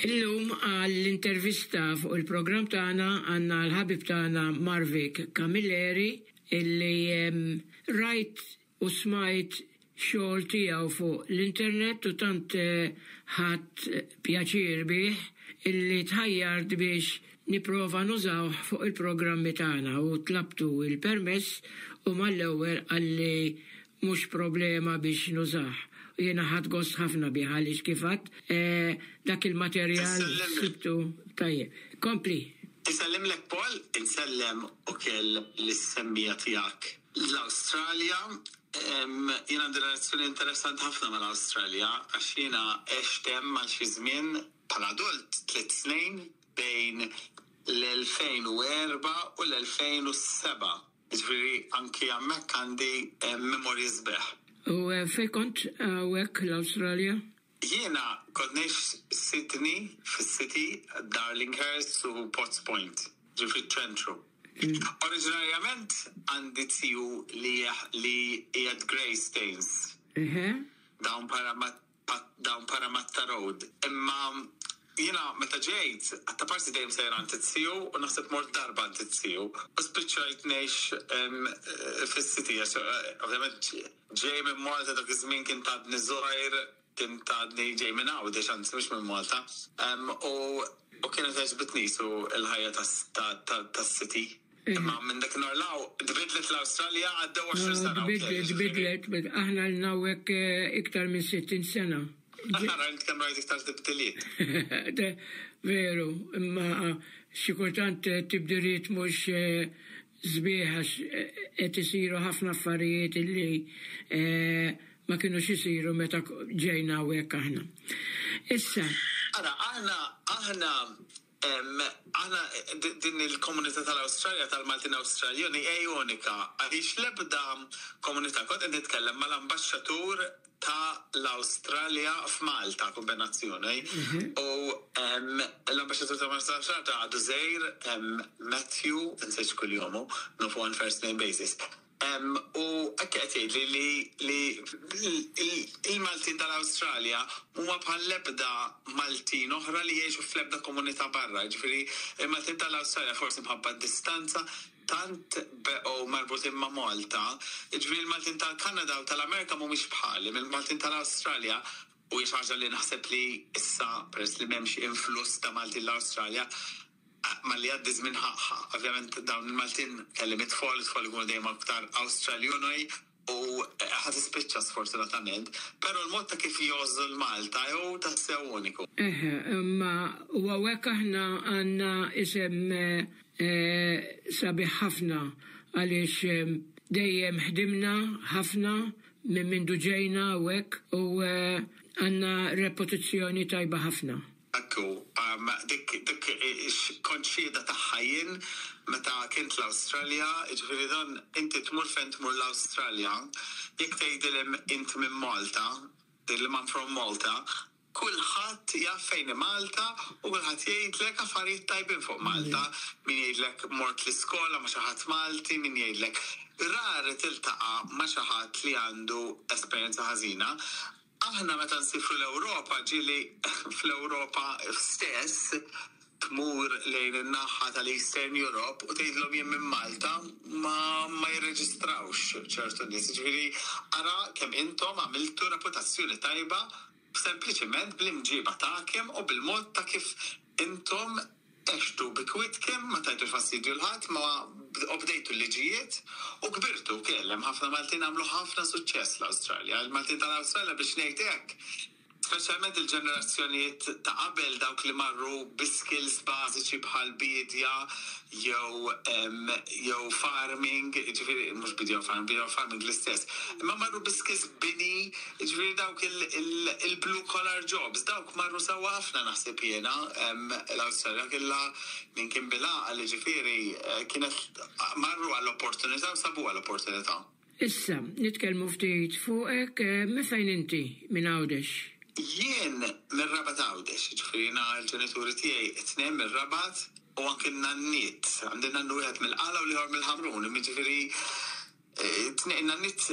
Illum għall-intervista fuq il-programm tagħna għandna l-ħabib tagħna Marvic Camilleri illi rajt u smajt xogħol tiegħu fuq l-internet u tant ħadt pjaċir bih illi tħajjart biex nipprova nużawh fuq il-programmi tagħna u tlabtu l-permess u mal-ewwel qalli mhux problema biex nużah u jiena ħadt gost ħafna bih għaliex kif għedt dak il-materjal sibtu tajjeb. Kompli. Insellimlek Paul, insellem ukoll lis-semmiegħa tiegħek l-Awstralja. Jien għandi relazzjoni interessanti ħafna mal-Awstralja għax jiena għext hemm għal xi żmien bħala adult tliet snin bejn l-2004 u l-2007. Jiġifieri anki hemmhekk għandi memorji sbieħ. U fejn kont hawnhekk l-Awstralja? Jiena kont ngħix Sydney, fis-city, Darlinghurst u Potts Point, ġifieri fiċ-ċentru. Oriġinarjament għandi ziju li li qiegħed Greystanes. Dawn down Parramatta Road. Imma jiena meta ġejt, għattaparsi dejjem sejjer għand iz-ziju u naħseb mort darba għand iz-ziju u spiċċajt ngħix fis-city għax ovvjament ġej minn Malta dak iż-żmien kien għadni żgħir, kien għadni ġej minn Għawdex anzi mhux minn Malta. U kienet għeġbitni su l-ħajja tas-city. Imma minn dak nhar 'l hawn tbiddlet l-Awstralja għaddew 20 sena. Tbiddlet, tbiddlet, aħna lna hawnhekk iktar minn 60 sena. Ara int kemm rajt iktar tibdiliet. Veru, imma xi kultant tibdiliet mhux sbieħ għax qed isiru ħafna affarijiet illi ma kinux isiru meta ġejna hawnhekk aħna. Issa. Ara, aħna, aħna Aħna din il-komunità tal-Awstralja tal-Maltin Awstraljani hi unika għaliex l-ebda komunità, kont qed nitkellem mal-ambaxxatur ta' l-Awstralja f'Malta, kombinazzjoni, u l-ambaxxatur ta' Malta f'Malta għadu żgħir, Matthew, insejt x'kuljomu, nafu on first name basis. U hekk qed jgħidli li li l-Maltin tal-Awstralja mhuma bħal l-ebda Maltin oħra li jgħixu fl-ebda komunità barra. Jiġifieri il-Maltin tal-Awstralja forsi mħabba d-distanza tant beqgħu marbutin ma' Malta. Jiġifieri l-Maltin tal-Kanada u tal-Amerika mhumiex bħali, il-Maltin tal-Awstralja u hi xi ħaġa li naħseb li issa peress li m'hemmx influss ta' Maltin l-Awstralja, Malli jgħaddi ż-żmien ħa, ovvjament dawn il-Maltin kellhom it-tfal, it-tfal ikunu dejjem aktar Awstraljonoj u ħa tispiċċa sfortunatament, però l-mod ta' kif jgħożżu l-Malta hu tassew uniku. Eħe, imma u hawnhekk aħna għandna isem sabiħ ħafna għaliex dejjem ħdimna ħafna minn mindu ġejna hawnhekk u għandna reputazzjoni tajba ħafna. Hekk hu. Dik dik kont xhieda tagħha jien meta kint l-Awstralja, jiġifieri dan inti tmur fejn tmur l-Awstralja, jekk tgħidilhom int minn Malta, tgħidilhom I'm from Malta, kulħadd jaf fejn hi Malta u kulħadd jgħidlek affarijiet tajbin fuq Malta. Min jgħidlek mort l-iskola ma' xi ħadd Malti, min jgħidlek rari tiltaqa' ma' xi ħadd li għandu esperjenza ħażina. Aħna meta nsifru l-Ewropa ġieli fl-Ewropa stess tmur lejn in-naħa tal-Eastern Europe u tgħidilhom jien minn Malta ma ma jirreġistrawx ċertu nies. Jiġifieri ara kemm intom għamiltu reputazzjoni tajba sempliċement bl-imġieba tagħkem u bil-mod ta' kif intom Għextu bi kwietkem, ma tajtux fastidju 'l ħadd, ma obdejtu l-liġijiet u kbirtu wkoll. Hemm ħafna Maltin għamlu ħafna suċċess l-Awstralja. Il-Maltin tal-Awstralja biex ngħid hekk, speċjalment il-ġenerazzjonijiet ta' qabel dawk li marru bi skills bażiċi bħal biedja jew jew farming, jiġifieri mhux biedja u farming, biedja u farming l-istess, imma marru bi skills bini, jiġifieri dawk il-blue collar jobs, dawk marru sewwa ħafna naħseb jiena. L-Awstralja kellha min kien bil-għaqal, jiġifieri kienet marru għall-opportunità u sabuha l-opportunità. Issa, nitkellmu ftit fuqek, minn fejn inti minn Għawdex? Jien mir-Rabat Għawdex, jiġifieri jiena l-ġenituri tiegħi t-tnejn mir-Rabat u anki n-nanniet, għandi nannu wieħed mill-Qala u l-ieħor mill-Ħamrun, jiġifieri. Nanniet,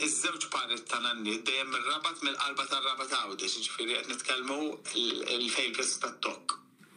iż-żewġ paret ta' nanniet dejjem mir-Rabat, mill-qalba tar-Rabat Għawdex, jiġifieri qed nitkellmu l-fejn il-pjazza tat-Tokk.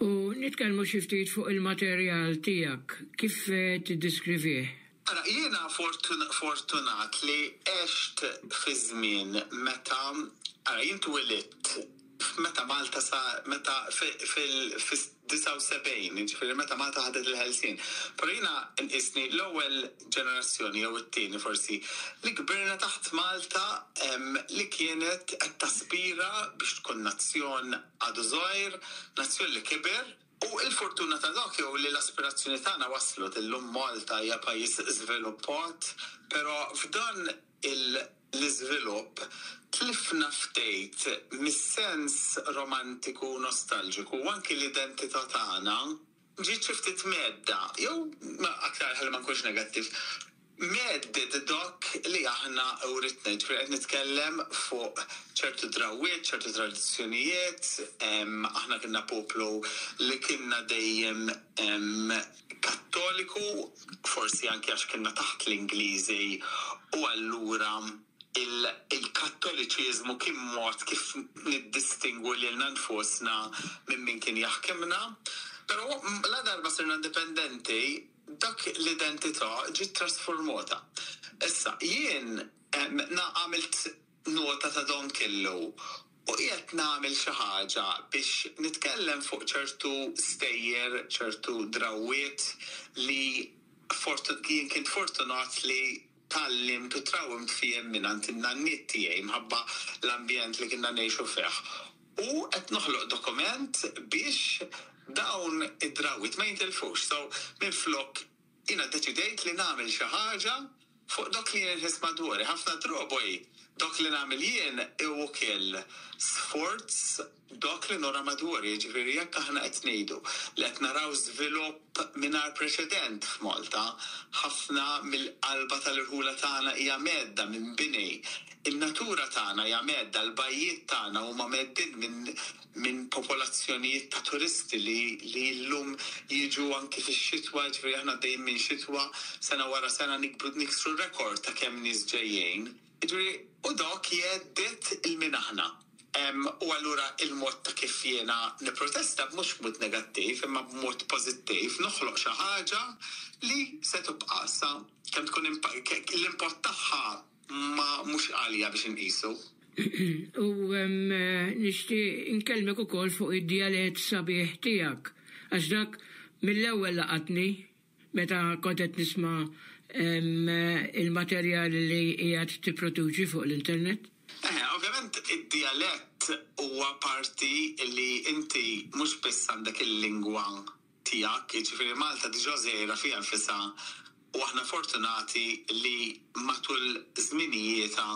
U nitkellmu xi ftit fuq il-materjal tiegħek, kif tiddiskrivih? Ara, jiena fortunat li għext fi żmien meta, ara, jien twilidt meta Malta sa, meta fil-79, jiġifieri meta Malta ħadet il-ħelsien. Però jiena nqisni l-ewwel ġenerazzjoni jew it-tieni forsi li kbirna taħt Malta li kienet qed taspira biex tkun nazzjon għadu żgħir, nazzjon li kiber. U l-fortuna ta' dak jew li l-aspirazzjoni tagħna waslet illum Malta hija pajjiż żviluppat, però f'dan l-iżvilupp tlifna ftit mis-sens romantiku u nostalġiku u anki l-identità tagħna ġiet xi ftit mhedda, jew aktar ħalli ma nkunx negattiv, mhedded dak li aħna writna, jiġifieri qed nitkellem fuq ċertu drawwiet, ċertu tradizzjonijiet, aħna kienna poplu li kienna dejjem Kattoliku, forsi anki għax kienna taħt l-Ingliżi u allura il-Kattoliċiżmu kien mod kif niddistingwu lilna nfusna minn min kien jaħkimna. Però ladarba sirna indipendenti, dak l-identità ġiet trasformota. Issa, jien għamilt nota ta' don kellu u qiegħed nagħmel xi ħaġa biex nitkellem fuq ċertu stejjer, ċertu drawwiet li jien kint fortunat li tgħallimt u trawwimt fihom mingħand in-nanniet tiegħi mħabba l-ambjent li kienna ngħixu fih. U qed noħloq dokument biex dawn id-drawwiet ma jintilfux. So, minflok jiena ddeċidejt li nagħmel xi ħaġa fuq dak li jien inħiss madwari. Ħafna drabi dak li nagħmel jien hu ukoll sforz dak li nara madwari, jiġifieri jekk aħna qed ngħidu li qed naraw żvilupp mingħajr preċedent f'Malta, ħafna mill-qalba tal-irħula tagħna hija mhedda minn bini, in-natura tagħna hija mhedda, l-bajjiet tagħna huma mheddin minn minn popolazzjonijiet ta' turisti li li llum jiġu anki fix-xitwa, jiġifieri aħna għaddejjin minn xitwa sena wara sena nikbru niksru rekord ta' kemm nies ġejjin. Jiġifieri u dak jhedded 'il min aħna. U allura il-mod ta' kif jiena nipprotesta mhux b'mod negattiv imma b'mod pożittiv noħloq xi ħaġa li se tibqa' sa kemm tkun l-impatt tagħha ma mhux għalija biex inqisu. U nixtieq inkellmek ukoll fuq id-djalett sabiħ tiegħek għax dak mill-ewwel laqatni meta kont qed nisma' il-materjal li qiegħed tipproduċi fuq l-internet. Eħe, ovvjament id-djalett huwa parti li inti mhux biss għandek il-lingwa tiegħek, jiġifieri Malta diġà żgħira fiha nfisha u aħna fortunati li matul żminijietha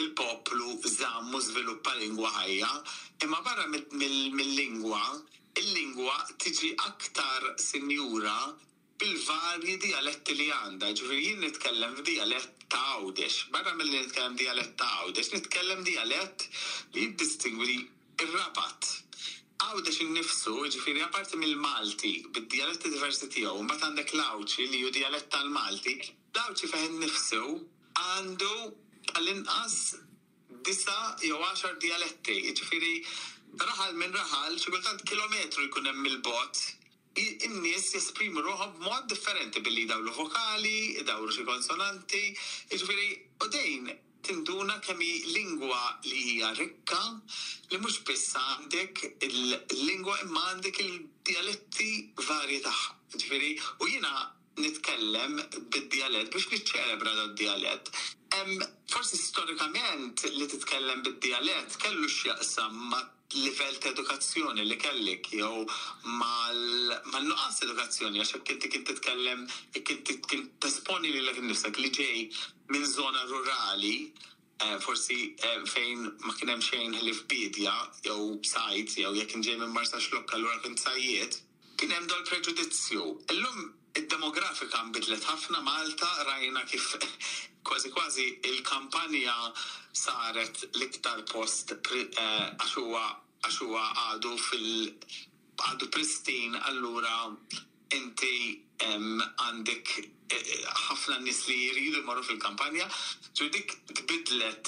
il-poplu żamm u żviluppa lingwa ħajja, imma barra mill-lingwa, il-lingwa tiġi aktar sinjura bil-varji dijaletti li għandha. Jiġifieri jien nitkellem f'dijalett ta' Għawdex. Barra milli nitkellem dijalett ta' Għawdex, nitkellem dijalett li jiddistingwi r-Rabat. Għawdex innifsu, jiġifieri apparti mill-Malti bid-dijaletti diversi tiegħu, imbagħad għandek l-Għawdxi li hu dijalett tal-Malti, l-Għawdxi fih innifsu għandu tal-inqas disa' jew għaxar dijaletti, jiġifieri raħal minn raħal, xi kultant kilometru jkun hemm 'il bogħod, in-nies jesprimu ruħhom b'mod differenti billi jdawlu vokali, idawru xi konsonanti, jiġifieri u dejn tinduna kemm hi lingwa li hija rikka, li mhux biss għandek il-lingwa imma għandek il-dijaletti varji tagħha. Jiġifieri u jiena nitkellem bid-djalett biex niċċelebra dad-djalett. Forsi storikament li titkellem bid-djalett kellu x'jaqsam ma' livell ta' edukazzjoni li kellek jew mal-nuqqas ta' edukazzjoni għax jekk inti kint titkellem jekk inti kint tesponi lilek innifsek li ġej minn żona rurali forsi fejn ma kien hemm xejn ħlief biedja jew sajd jew jekk int ġej minn Marsaxlokk allura kint sajjied. Kien hemm dal-preġudizzju. Illum id-demografika nbidlet ħafna Malta, rajna kif kważi kważi il-kampanja saret l-iktar post għax huwa għax huwa għadu fil għadu pristine allura inti. Għandek ħafna nies li jridu jmorru fil-kampanja, ġifieri dik tbiddlet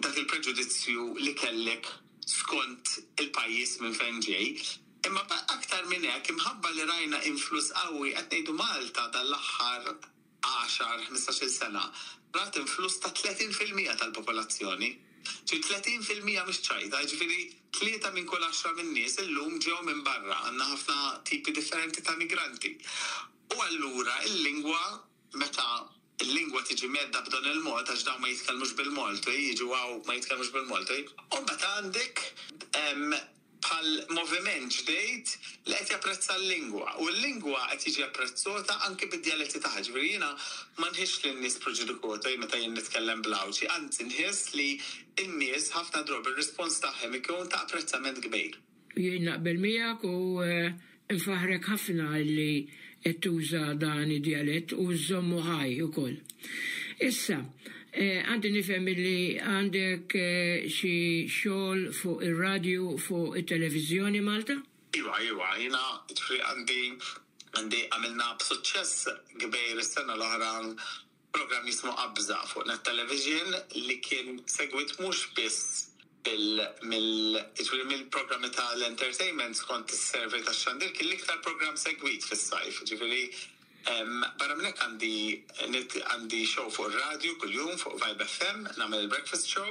dak il-preġudizzju li kellek skont il-pajjiż minn fejn ġej. Imma aktar minn hekk, imħabba li rajna influss qawwi, qed ngħidu Malta dal-aħħar 10, 15-il sena rat influss ta' 30% tal-popolazzjoni. Ġifieri 30% mhix ċajta, jiġifieri tlieta minn kull għaxra min-nies illum ġew minn barra, għandna ħafna tipi differenti ta' migranti. U allura l-lingwa, meta l-lingwa tiġi mhedda b'dan il-mod, għax dawn ma jitkellmux bil-Malti, jiġu hawn ma jitkellmux bil-Malti, u mbagħad għandek bħal moviment ġdid li qed japprezza l-lingwa. U l-lingwa qed jiġi apprezzata anki bid-djaletti tagħha. Ġifieri jiena ma nħissx li n-nies preġudikati meta jien nitkellem bl-Għawdxi, anzi nħiss li n-nies ħafna drabi r-rispons tagħhom ikun ta' apprezzament kbir. Jien naqbel miegħek u nfaħħrek ħafna li qed tuża dan id-djalett u żżommu ħaj ukoll. Issa, għandi nifhem illi għandek xi xogħol fuq ir-radju fuq it-televiżjoni Malta? Iva, iva, jiena ġifieri għandi għandi għamilna b'suċċess kbir is-sena l-oħra programm jismu Qabża fuq Net Television li kien segwit mhux biss bil mill jiġifieri mill-programmi tal-entertainment skont is-survey tax-xandir kien l-iktar programm segwit fis-sajf, jiġifieri barra minn hekk għandi għandi show fuq ir-radju kuljum fuq Vibe FM, nagħmel il-breakfast show.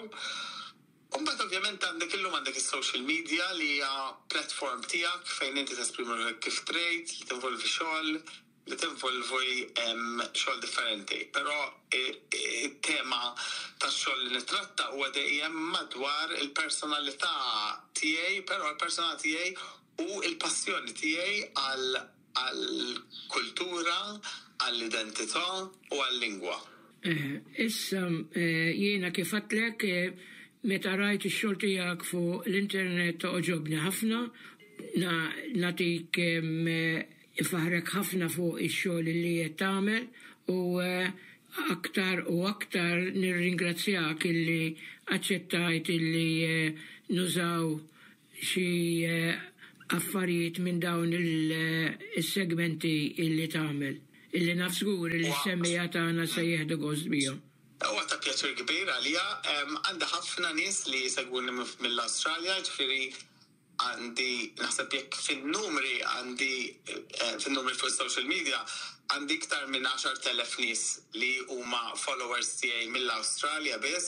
U mbagħad ovvjament għandek illum għandek is-social media li hija platform tiegħek fejn inti tesprimi ruħek kif trid, li tinvolvi xogħol, li tinvolvi xogħol differenti. Però it-tema tax-xogħol li nittratta huwa dejjem madwar il-personalità tiegħi, però l-personalità tiegħi u l-passjoni tiegħi għal għall-kultura, għall-identità u għal-lingwa. Issa, jiena kif għedtlek, meta rajt ix-xogħol tiegħek fuq l-internet għoġobni ħafna, nagħtik infaħħrek ħafna fuq ix-xogħol li qed tagħmel u aktar u aktar nirringrazzjak illi aċċettajt illi nużaw xi affarijiet minn dawn il-segmenti illi tagħmel, illi naf żgur li s-semmiegħa tagħna se jieħdu gost bihom. Huwa ta' pjaċir kbir għalija. Għandi ħafna nies li jsegwuni mill-Awstralja, ġifieri għandi naħseb jekk fin-numri għandi fin-numri fuq social media għandi iktar minn 10,000 nies li huma followers tiegħi mill-Awstralja biss.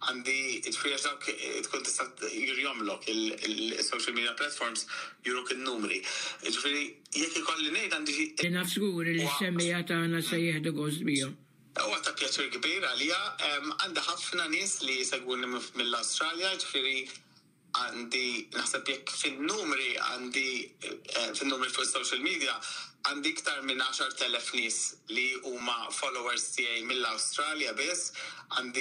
Għandi, ġifieri għax dawk tkun tista' jurjomlok il-social media platforms juruk in-numri. Ġifieri jekk ikolli ngħid għandi xi. Li naf żgur li s-semmiegħa tagħna se jieħdu gost bihom. Huwa ta' pjaċir kbir għalija. Għandi ħafna nies li jsegwuni mill-Awstralja, ġifieri għandi naħseb jekk fin-numri għandi fin-numri fuq social media għandi iktar minn 10,000 nies li huma followers tiegħi mill-Awstralja biss. Għandi.